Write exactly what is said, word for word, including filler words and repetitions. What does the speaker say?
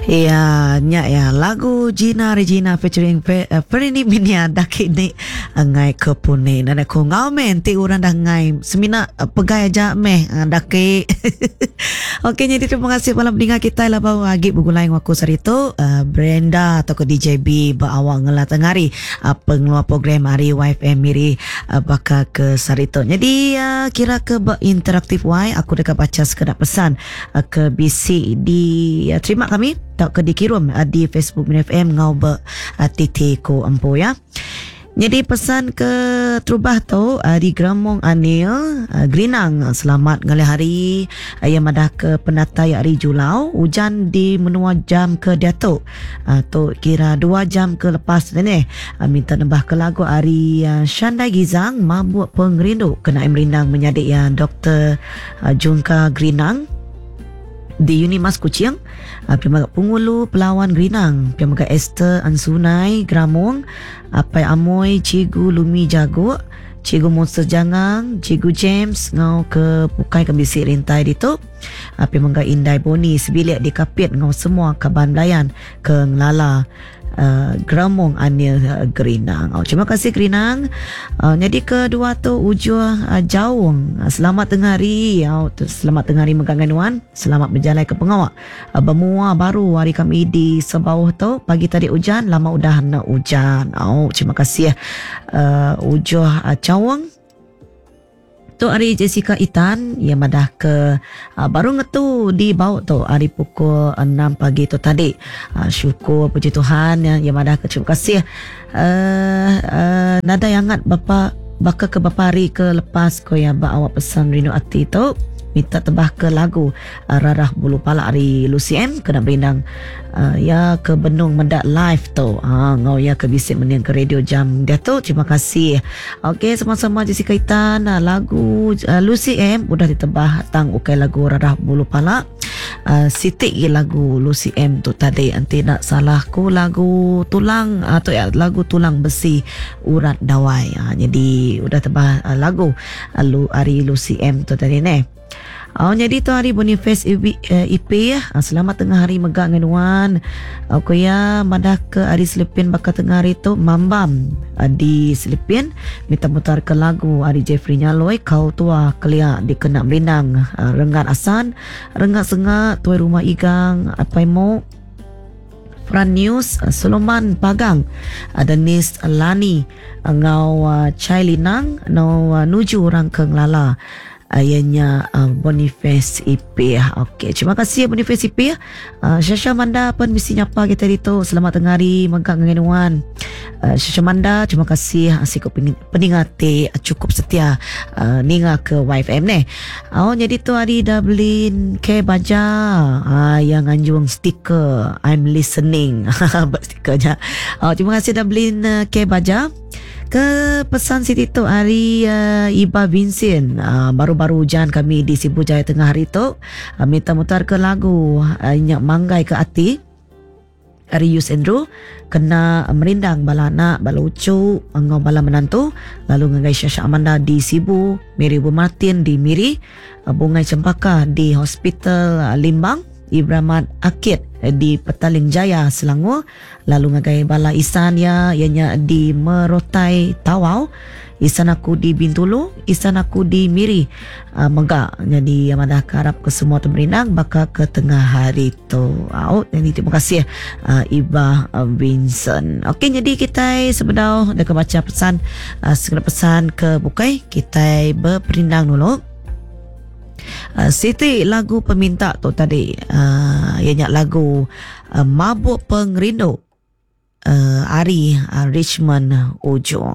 Iya, nya ya lagu Gina Regina featuring Fe, uh, Ferini Minia daki ni ngai ke puni. Nada ko ngau men ti orang dah ngai semina uh, pegai aja meh uh, daki. Okey, jadi terima kasih malam pendengar kita lah baru agi begulai dengan aku sehari tu uh, Brenda atau ke D J B berawak ngelah tengah hari uh, pengeluar program hari Y F M Miri uh, bakal ke sehari tu. Jadi uh, kira ke berinteraktif Y aku dekat baca sekedar pesan uh, ke B C di uh, terima kami tak ke dikirim uh, di Facebook Miri F M ngau be uh, T T ko empu ya. Jadi pesan ke terubah tu uh, di Gramong Anil uh, Gerinang, selamat ngalih hari uh, yang madah ke penatai hari Julau hujan di menua jam ke diatu uh, tu kira dua jam ke lepas ni uh, minta nembah ke lagu hari uh, Shandai Gizang Mabuk Pengerindu kena merindang menyadik yang Doktor uh, Jungka Gerinang di Unimas Kuching, uh, pihak Pengulu Pelawan Gerinang, pihak Esther Ansunai Gramong, Apai Amoy, Cikgu Lumi Jago, Cikgu Monster Jangang, Cikgu James ngau ke Pukai ke bisi rintai ditu, uh, pihak Indai Boni sebilik di Kapit ngau semua kaban belayan ke Ngelala Uh, Gramong Anil uh, Gerinang. Oh, terima kasih Gerinang. Uh, jadi kedua tu Ujuh uh, Jaung. Uh, selamat tengah hari. Oh, selamat tengah hari megangan nuan. Selamat berjalan ke pengawak. Uh, bermua baru hari kami di Sebauh tu. Pagi tadi hujan, lama udah nak hujan. Oh, terima kasih uh, Ujuh uh, Jaung. Tu hari Jessica Itan yang madah ke uh, baru ngetu di bau tu hari pukul enam pagi tu tadi. Uh, syukur puji Tuhan yang, yang madah ke terima kasih. Uh, uh, nada yang hangat bapa baka ke bapa hari ke lepas ko yang ba awak pesan rindu ati tu minta tebah ke lagu uh, Rarah Bulu Palak hari Lucy M kena berindang uh, ya ke Benung Mendak live tu ha ngau ya ke bisik mending ke radio jam dia tu. Terima kasih. Okey, sama-sama Jessica Itan, lagu uh, Lucy M udah ditebah tang ukai lagu Rarah Bulu Palak. Uh, sitik ye lagu Lucy M tu tadi nanti nak salah ku lagu tulang atau ya lagu tulang besi urat dawai. Ha, jadi udah tebah uh, lagu uh, Lu, hari Lucy M tu tadi ne. Oh, jadi tu hari Boniface E P ya. Selamat tengah hari megak dengan nuan. Aku ya madah ke hari Selipin bakal tengah hari tu mambam di Selipin minta mutar ke lagu hari Jeffrey Nyaloi kau tua kelia dikena merindang Renggat Asan, Renggat Sengak, Tuai Rumah Igang, Apai Mo, Fran News, Soloman Pagang, Denis Lani, ngau Chai Linang, no nuju orang ke Ngelala. Ayahnya uh, Boniface E P. Okey, terima kasih Boniface E P. Uh, Syasha Manda pun mesti nyapa kita itu. Selamat tengah hari mengkang dengan nuan. Uh, Syasha Manda, terima kasih asyik peningat cukup setia uh, ninga ke Y F M ni. Oh, jadi tu hari Dublin K Baja uh, yang anjung stiker I'm listening. Stikernya. Oh, terima kasih Dublin K Baja. Ke pesan Siti tu hari uh, Iba Vincent uh, baru-baru hujan kami di Sibu Jaya tengah hari tu uh, minta mutar ke lagu uh, Nyak Manggai ke Ati hari Yus Andrew kena merindang bala anak bala ucu ngau bala menantu lalu ngagai Syasha Amanda di Sibu, Mary Bu Martin di Miri, uh, Bungai Cempaka di Hospital uh, Limbang, Ibrahmat Akid di Petaling Jaya Selangor, lalu ngagai bala Isan ya ianya di Merotai Tawau, Isan aku di Bintulu, Isan aku di Miri uh, megak. Jadi yang madah harap ke semua temerindang bakal ke tengah hari tu. Oh, jadi terima kasih uh, Iba uh, Vincent. Okey, jadi kita sebenarnya dah baca pesan uh, segera pesan ke bukai kita berperindang dulu. Uh, Siti lagu peminta tu tadi uh, ianya lagu uh, Mabuk Pengerindu uh, Ari uh, Richmond Ujung.